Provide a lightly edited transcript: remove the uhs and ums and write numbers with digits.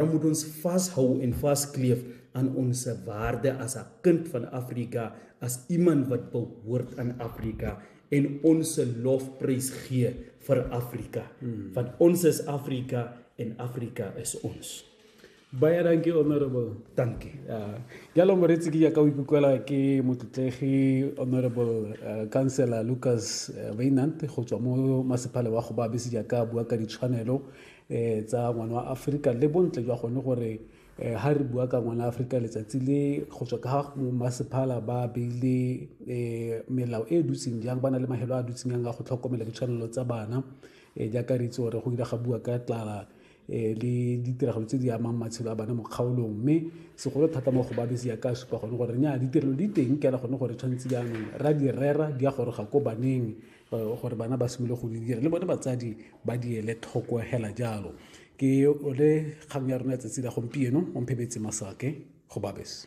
Moet ons vashou en vaskleef aan ons waarde as 'n kind van Afrika, as iemand wat behoort aan Afrika en ons lofprys gee vir Afrika. Want ons is Afrika en Afrika is ons. Baie dankie, honorable. Dankie. Ja. Jalo moreetsi, ke jaaka o ikutlwela ke motlotlegi Honorable Councillor Lucas Wynand go tswa mo masepala wa Gobabis, jaaka bua ka ditshwanelo tsa ngwana wa Aforika le bontle jwa gone gore ha re bua ka ngwana Aforika letsatsi le go tswa ka ga masepala ba beile melao e e dutseng jang, ba na le mahelo a dutseng jang a go tlhokomela ditshwanelo tsa bana, jaaka re itse gore go ile ga bua ka tlala le ditiragalo tse di amang matshelo a bana mo kgaolong, mme segolo thata mo Gobabis ya ka supa gone gore nya ditirelo di teng ke gone gore tshwanetse jaanong ra di rera di ya goroga ko baneng, gore bana ba simolole go di dira le bone batsadi ba di ele tlhoko hela jalo. Ke ole kgang ya rona ya tsatsi la gompieno. Omphebetse Masake, Gobabis.